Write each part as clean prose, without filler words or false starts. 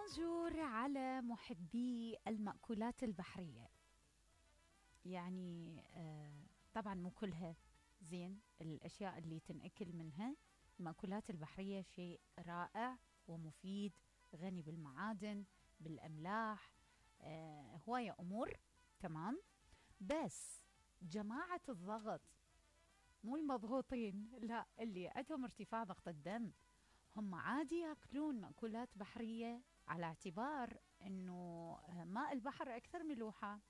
بونجور على محبي المأكولات البحرية. يعني طبعا مو كلها زين، الأشياء اللي تنأكل منها. المأكولات البحرية شيء رائع ومفيد، غني بالمعادن، بالأملاح، هواية أمور. تمام. بس جماعة الضغط، مو المضغوطين، لا، اللي عندهم ارتفاع ضغط الدم، هم عادي ياكلون مأكولات بحرية على اعتبار انه ماء البحر اكثر ملوحة،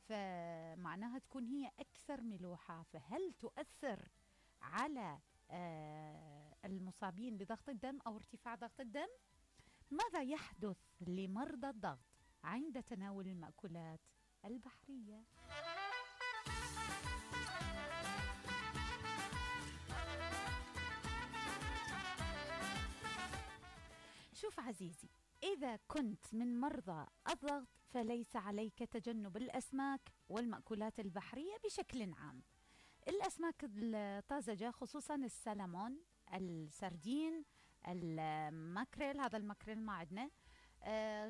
فمعناها تكون هي اكثر ملوحة، فهل تؤثر على المصابين بضغط الدم او ارتفاع ضغط الدم؟ ماذا يحدث لمرضى الضغط عند تناول المأكولات البحرية؟ شوف عزيزي، إذا كنت من مرضى الضغط فليس عليك تجنب الأسماك والمأكولات البحرية بشكل عام. الأسماك الطازجة خصوصا السلمون، السردين، الماكريل، هذا الماكريل ما عندنا،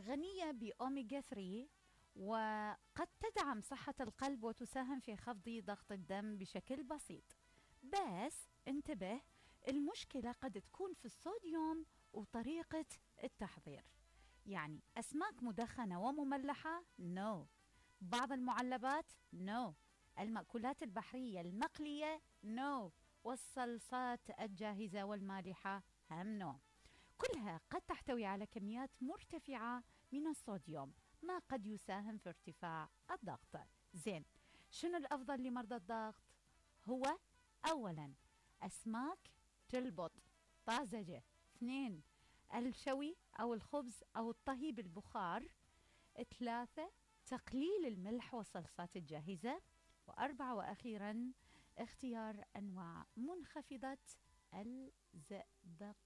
غنية بأوميجا 3، وقد تدعم صحة القلب وتساهم في خفض ضغط الدم بشكل بسيط. بس انتبه، المشكلة قد تكون في الصوديوم وطريقة التحضير. يعني أسماك مدخنة ومملحة نو، بعض المعلبات نو، المأكولات البحرية المقلية نو، والصلصات الجاهزة والمالحة هم نو. كلها قد تحتوي على كميات مرتفعة من الصوديوم، ما قد يساهم في ارتفاع الضغط. زين، شنو الأفضل لمرضى الضغط؟ هو أولا أسماك تلبط طازجة، 2 الشوي أو الخبز أو الطهي بالبخار، 3 تقليل الملح والصلصات الجاهزة، 4 وأخيرا اختيار أنواع منخفضة الزئبق.